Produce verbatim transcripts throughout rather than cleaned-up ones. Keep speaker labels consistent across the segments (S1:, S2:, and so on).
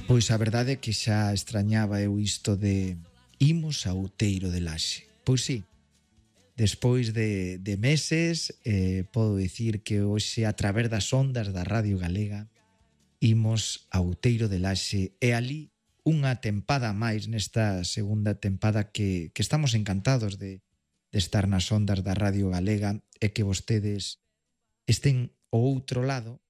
S1: Pois a verdade é que xa extrañaba eu isto de imos a Outeiro de Laxe. Pois sí, despois de, de meses eh, podo dicir que hoxe a través das ondas da Radio Galega imos a Outeiro de Laxe e ali unha tempada máis nesta segunda tempada que, que estamos encantados de, de estar nas ondas da Radio Galega e que vostedes estén ao outro lado.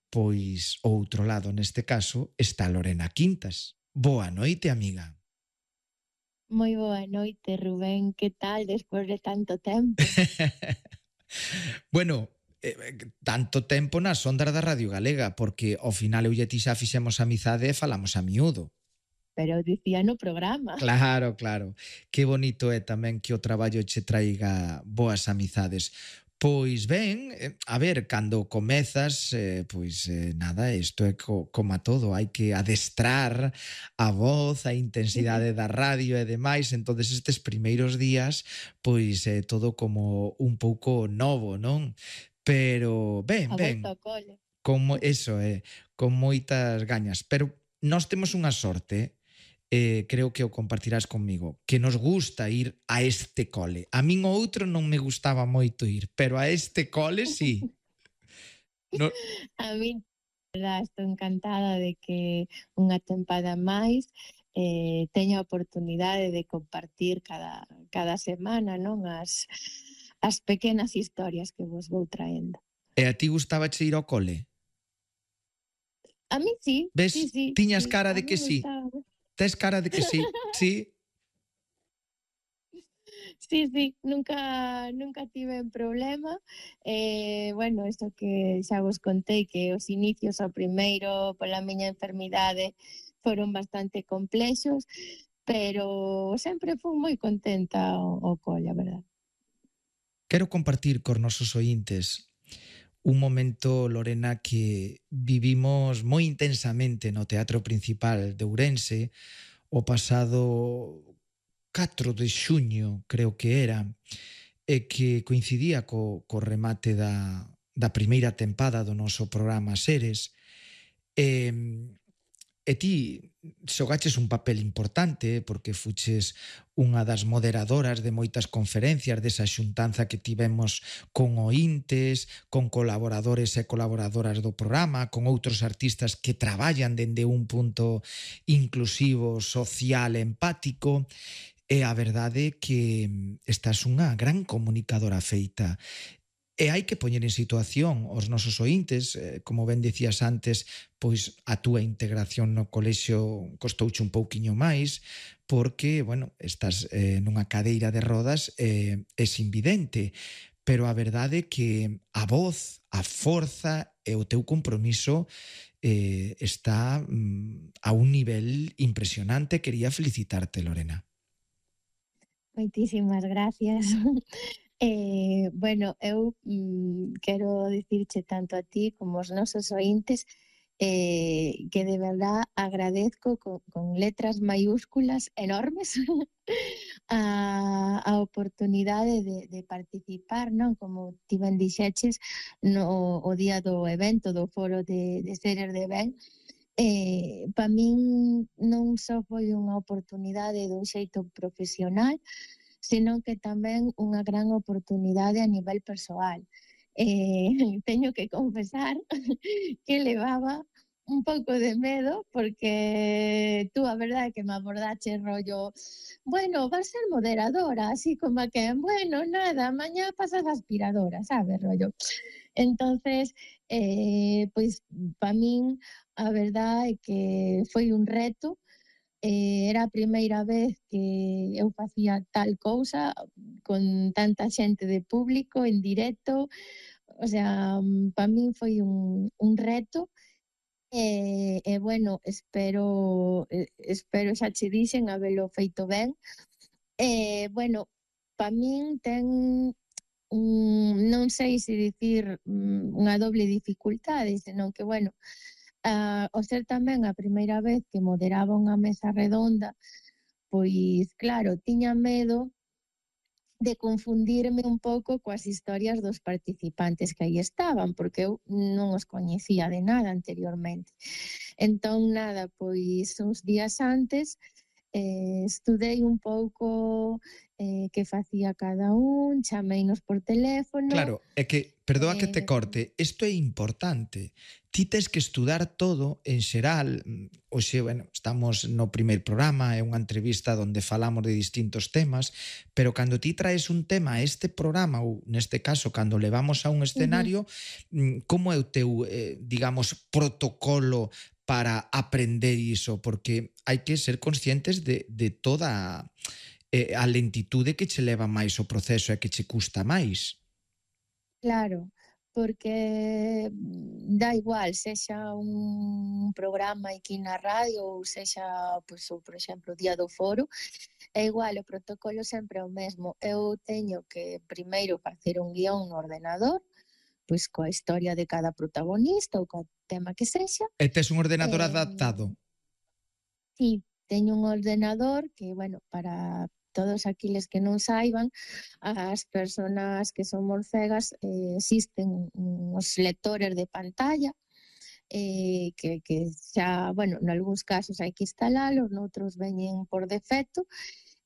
S1: Pois ao outro lado, neste caso, está Lorena Quintas. Boa noite, amiga.
S2: Moi boa noite, Rubén. Que tal despois de tanto tempo?
S1: Bueno, eh, tanto tempo nas ondas da Radio Galega, porque ao final eu e ti xa fixemos amizade e falamos a miúdo.
S2: Pero dicía no programa.
S1: Claro, claro. Que bonito é tamén que o traballo che traiga boas amizades. Pois ben, a ver, cando comezas, eh, pois eh, nada, isto é co, como a todo, hai que adestrar a voz, a intensidade da radio e demais, entonces estes primeiros días, pois é eh, todo como un pouco novo, non? Pero ben,
S2: A
S1: ben,
S2: volta ao cole.
S1: como eso é, eh, con moitas gañas, pero nós temos unha sorte, eh, creo que o compartirás conmigo, que nos gusta ir a este cole. A min o outro non me gustaba moito ir, pero a este cole sí.
S2: No... A min, verdad, estou encantada de que unha tempada máis eh, teña a oportunidade de compartir cada, cada semana, non, as, as pequenas historias que vos vou traendo.
S1: E a ti gustaba che ir ao cole?
S2: A mí sí.
S1: Ves?
S2: Sí, sí,
S1: Tiñas
S2: sí,
S1: cara de que sí. Tes cara de que sí, sí.
S2: Sí, sí, nunca nunca tiven problema. Eh, bueno, isto que xa vos contei, que os inicios ao primeiro pola miña enfermidade foron bastante complexos, pero sempre fui moi contenta ao, ao cole, a verdad.
S1: Quero compartir cos nosos ointes un momento, Lorena, que vivimos moi intensamente no Teatro Principal de Ourense o pasado catro de xuño, creo que era, e que coincidía co, co remate da, da primeira tempada do noso programa Seres. E, e ti xogaches un papel importante porque fuches unha das moderadoras de moitas conferencias desa xuntanza que tivemos con ointes, con colaboradores e colaboradoras do programa, con outros artistas que traballan dende un punto inclusivo, social, empático. E a verdade é que estás unha gran comunicadora feita. E hai que poñer en situación os nosos ointes, como ben dicías antes, pois a túa integración no colexio costouche un pouquiño máis, porque, bueno, estás eh, nunha cadeira de rodas e eh, é invidente. Pero a verdade é que a voz, a forza e o teu compromiso eh, está mm, a un nivel impresionante. Quería felicitarte, Lorena.
S2: Moitísimas gracias. Eh, bueno, eu mm, quero dicirche tanto a ti como aos nosos ointes eh, que de verdad agradezco con, con letras maiúsculas enormes a, a oportunidade de, de participar, non? Como ti ben dixeches no o día do evento do foro de, de Seres de Ben. Eh, para min non só foi unha oportunidade dun xeito profesional, senón que tamén unha gran oportunidade a nivel persoal. Eh, teño que confesar que levaba un pouco de medo porque tú a verdade que me abordache rollo, bueno, vas ser moderadora, así como que, bueno, nada, mañá pasas aspiradora, sabes, rollo. Entonces, eh, pois, pa min, a verdade é que foi un reto. Eh, era a primeira vez que eu facía tal cousa con tanta xente de público en directo, o sea, para min foi un, un reto e, e bueno, espero espero xa che dixen habelo feito ben. E bueno, para min ten un, non sei se dicir unha doble dificultade, senón que bueno, Uh, o ser tamén a primeira vez que moderaba unha mesa redonda, pois claro, tiña medo de confundirme un pouco coas historias dos participantes que aí estaban, porque eu non os coñecía de nada anteriormente. Entón, nada, pois uns días antes eh, estudei un pouco eh, que facía cada un, chameínos por teléfono.
S1: Claro, é que, perdoa que te
S2: eh,
S1: corte, isto é importante. Ti tes que estudar todo en xeral. mm, Hoxe, bueno, estamos no primeiro programa, é unha entrevista onde falamos de distintos temas, pero cando ti traes un tema a este programa, ou neste caso, cando levamos a un
S2: ujú,
S1: escenario, mm, como é o teu, eh, digamos, protocolo para aprender iso? Porque hai que ser conscientes de, de toda eh, a lentitude que che leva máis o proceso e que che custa máis.
S2: claro, porque mm, dá igual, sexa un programa aquí na radio ou sexa, pois, ou, por exemplo, o día do foro, é igual, o protocolo sempre é o mesmo. Eu teño que primeiro facer un guión no ordenador, pois coa historia de cada protagonista ou co tema que sexa.
S1: E tes un ordenador
S2: eh,
S1: adaptado.
S2: Sí, teño un ordenador que, bueno, para todos aqueles que non saiban, as persoas que somos cegas, eh, existen uns lectores de pantalla eh, que, que xa, bueno, nalgúns casos hai que instalalos, noutros veñen por defecto.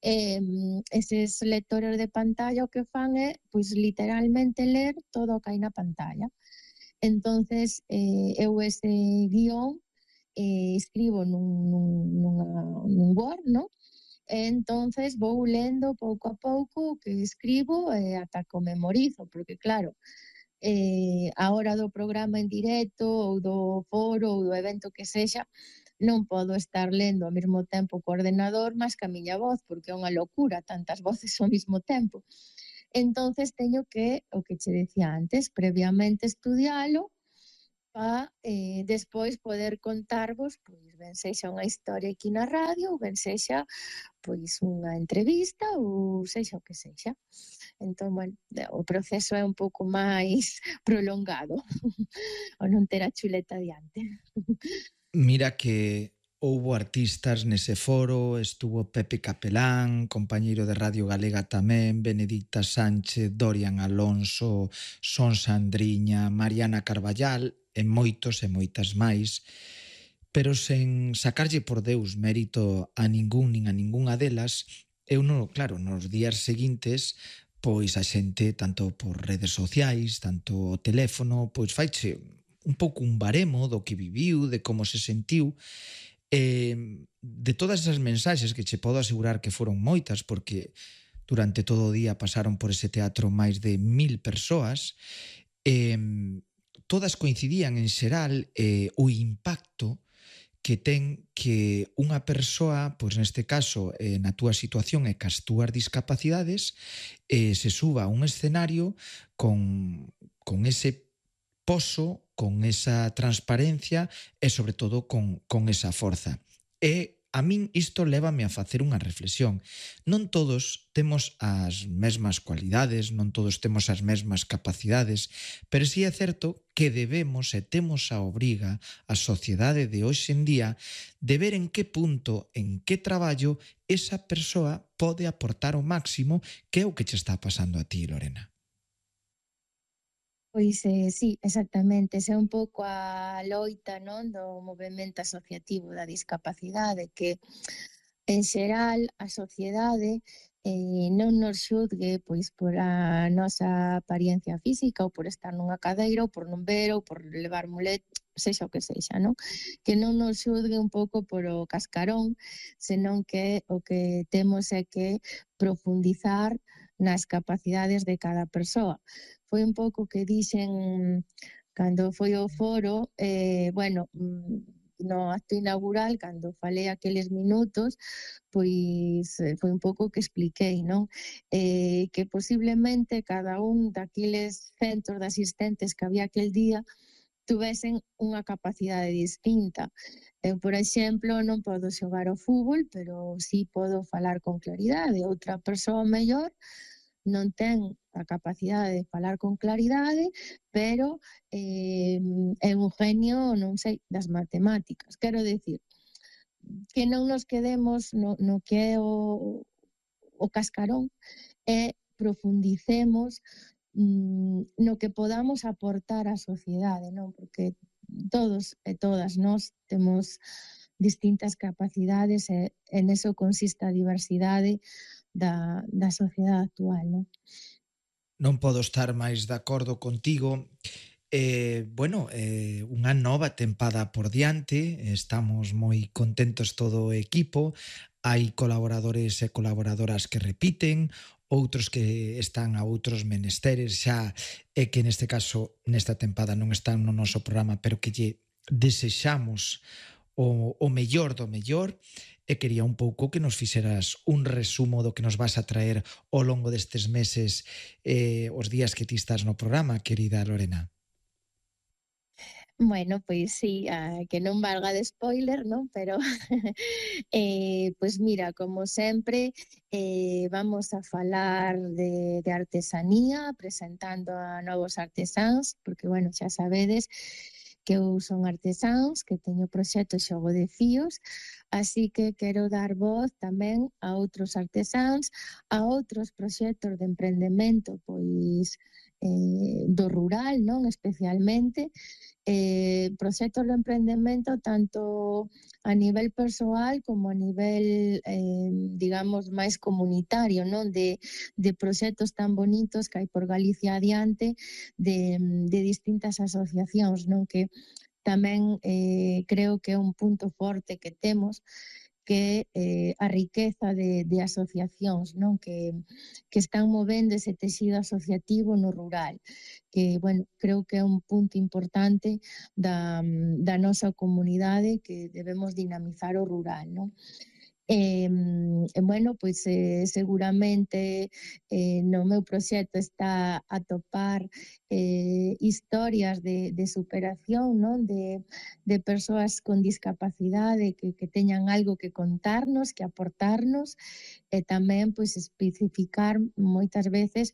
S2: Eh, eses lectores de pantalla o que fan é, pois, literalmente ler todo o que hai na pantalla. Entonces, eh, eu ese guión eh, escribo nun, nun, nunha, nun Word, ¿no? E entonces vou lendo pouco a pouco o que escribo e ata que o memorizo, porque claro, eh, a hora do programa en directo ou do foro ou do evento que sexa, non podo estar lendo ao mesmo tempo co ordenador máis que a miña voz, porque é unha locura tantas voces ao mesmo tempo. Entonces teño que, o que che decía antes, previamente estudialo pa eh, despois poder contarvos, pois ben sexa unha historia aquí na radio, ou ben sexa pois unha entrevista ou sexa o que sexa. Entón, bueno, o proceso é un pouco máis prolongado, o non ter a chuleta diante.
S1: Mira que houbo artistas nese foro, estuvo Pepe Capelán, compañeiro de Radio Galega tamén, Benedicta Sánchez, Dorian Alonso, Son Sandriña, Mariana Carballal e moitos e moitas máis, pero sen sacarlle por Deus mérito a ningún nin a ningunha delas, eu non, claro, nos días seguintes pois a xente, tanto por redes sociais, tanto o teléfono, pois faiche un pouco un baremo do que viviu, de como se sentiu, e de todas esas mensaxes que che podo asegurar que foron moitas, porque durante todo o día pasaron por ese teatro máis de mil persoas, e todas coincidían en xeral eh, o impacto que ten que unha persoa, pois neste caso, eh, na túa situación e cas túas discapacidades, eh, se suba a un escenario con, con ese poso, con esa transparencia e, sobre todo, con, con esa forza. E a min isto lévame a facer unha reflexión. Non todos temos as mesmas cualidades, non todos temos as mesmas capacidades, pero sí é certo que debemos e temos a obriga, a sociedade de hoxe en día, de ver en que punto, en que traballo, esa persoa pode aportar o máximo, que é o que che está pasando a ti, Lorena.
S2: Pois eh, sí, exactamente, esa é un pouco a loita, non, do movemento asociativo da discapacidade, que en xeral a sociedade eh, non nos xudgue pois por a nosa apariencia física ou por estar nunha cadeira ou por non ver ou por levar mulet, sexa o que sexa, non? Que non nos xudgue un pouco por o cascarón, senón que o que temos é que profundizar nas capacidades de cada persoa. Foi un pouco que dixen cando foi o foro, eh, bueno, mm, no acto inaugural, cando falei aqueles minutos, pois eh, foi un pouco que expliquei, non? Eh, que posiblemente cada un daqueles centros de asistentes que había aquel día tuvesen unha capacidade distinta. Eu, por exemplo, non podo xogar ao fútbol, pero sí podo falar con claridade. Outra persoa mellor non ten a capacidade de falar con claridade, pero eh, é un genio, non sei, das matemáticas. Quero decir, que non nos quedemos no, no que é o, o cascarón e profundicemos mm, no que podamos aportar á sociedade, non? Porque todos e todas nós temos distintas capacidades e, e neso consiste a diversidade da, da sociedade actual, non?
S1: Non podo estar máis de acordo contigo. Eh, bueno, eh, unha nova tempada por diante, estamos moi contentos todo o equipo, hai colaboradores e colaboradoras que repiten, outros que están a outros menesteres xa, e que neste caso, nesta tempada non están no noso programa, pero que lle desexamos o, o mellor do mellor, e quería un pouco que nos fixeras un resumo do que nos vas a traer ao longo destes meses, eh, os días que ti estás no programa, querida Lorena.
S2: Bueno, pois sí, a, que non valga de spoiler, non? Pero, eh, pois mira, como sempre, eh, vamos a falar de, de artesanía, presentando a novos artesáns, porque, bueno, xa sabedes que eu son artesáns, que teño proxecto Xogo de Fíos, así que quero dar voz tamén a outros artesáns, a outros proxectos de emprendemento, pois, eh, do rural, non? Especialmente, eh, proxectos de emprendemento tanto a nivel persoal como a nivel, eh, digamos, máis comunitario, non? De, de proxectos tan bonitos que hai por Galicia adiante, de, de distintas asociacións, non? Que tamén eh, creo que é un punto forte que temos, que eh, a riqueza de, de asociacións, non? Que, que están movendo ese texido asociativo no rural, que, bueno, creo que é un punto importante da, da nosa comunidade, que debemos dinamizar o rural, non? E, bueno, pois eh, seguramente eh, no meu proxecto está a topar eh, historias de, de superación, non? De, de persoas con discapacidade que, que teñan algo que contarnos, que aportarnos, e tamén pois especificar moitas veces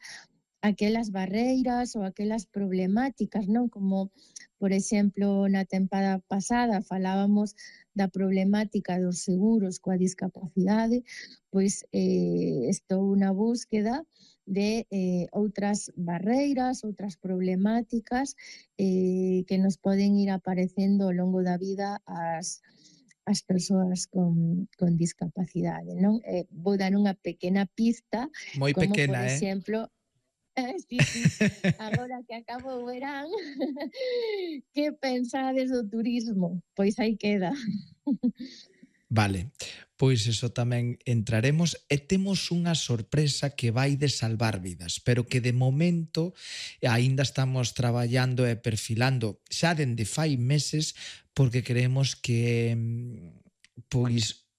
S2: aquelas barreiras ou aquelas problemáticas, non? Como, por exemplo, na tempada pasada falábamos da problemática dos seguros coa discapacidade, pois eh, estou na búsqueda de eh, outras barreiras, outras problemáticas eh, que nos poden ir aparecendo ao longo da vida as as persoas con, con discapacidade, non? Eh, vou dar unha pequena pista,
S1: Moi
S2: como, por
S1: pequena, eh?
S2: exemplo, sí, sí, agora que acabo o verán, que pensades do turismo? Pois aí queda.
S1: Vale, pois eso tamén entraremos, e temos unha sorpresa que vai de salvar vidas, pero que de momento aínda estamos traballando e perfilando xa dende fai meses, porque creemos que pois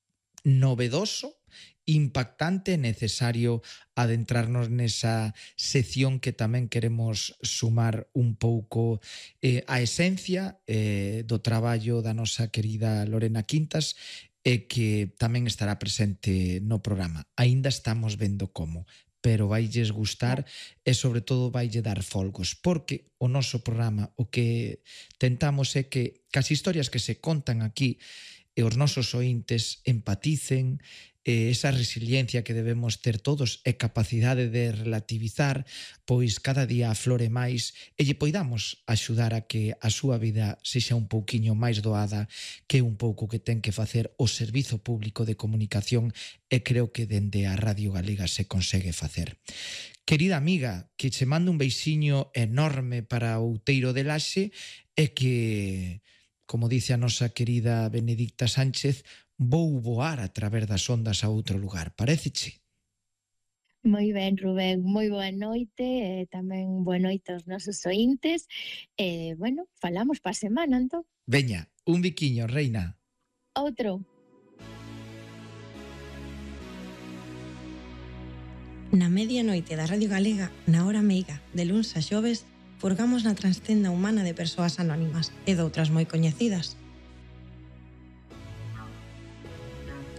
S1: novedoso, impactante e necesario adentrarnos nesa sección que tamén queremos sumar un pouco eh, a esencia eh, do traballo da nosa querida Lorena Quintas, e que tamén estará presente no programa. Aínda estamos vendo como, pero vailles gustar e sobre todo vaille dar folgos, porque o noso programa o que tentamos é que cas historias que se contan aquí e os nosos ointes empaticen, e esa resiliencia que debemos ter todos e capacidade de relativizar, pois cada día aflore máis e lle poidamos axudar a que a súa vida sexa un pouquiño máis doada, que un pouco que ten que facer o Servizo Público de Comunicación, e creo que dende a Radio Galega se consegue facer. Querida amiga, que che mando un beixiño enorme para Outeiro de Laxe, e que, como dice a nosa querida Benedicta Sánchez, vou voar a través das ondas a outro lugar. Paréceche?
S2: Moi ben, Rubén, moi boa noite, e tamén boa noite aos nosos ointes, e, bueno, falamos pa semana, entón.
S1: Veña, un biquiño, reina.
S2: Outro.
S3: Na medianoite da Radio Galega, na hora meiga, de luns a xoves, furgamos na transtenda humana de persoas anónimas e doutras moi coñecidas.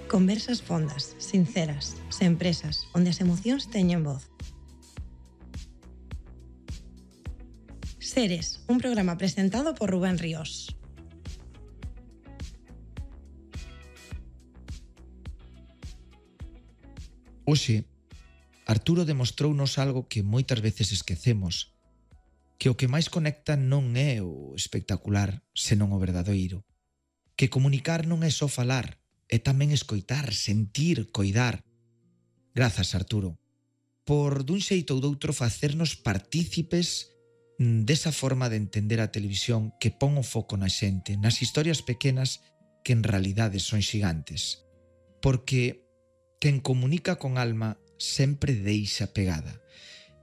S3: Conversas fondas, sinceras, sen presas, onde as emocións teñen voz. Seres, un programa presentado por Rubén Ríos.
S1: Oxe, Arturo demostrounos algo que moitas veces esquecemos. que o que máis conecta non é o espectacular, senón o verdadeiro. Que comunicar non é só falar, é tamén escoitar, sentir, coidar. Grazas, Arturo, por dun xeito ou doutro facernos partícipes desa forma de entender a televisión que pon o foco na xente, nas historias pequenas que en realidade son xigantes. Porque quen comunica con alma sempre deixa pegada.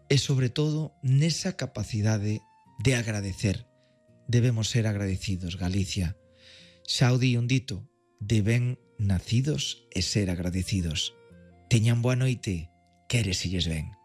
S1: E sobre todo nesa capacidade de agradecer. Debemos ser agradecidos, Galicia. Xa o di un dito, de ben nacidos e ser agradecidos. Teñan boa noite, quéreselles ben.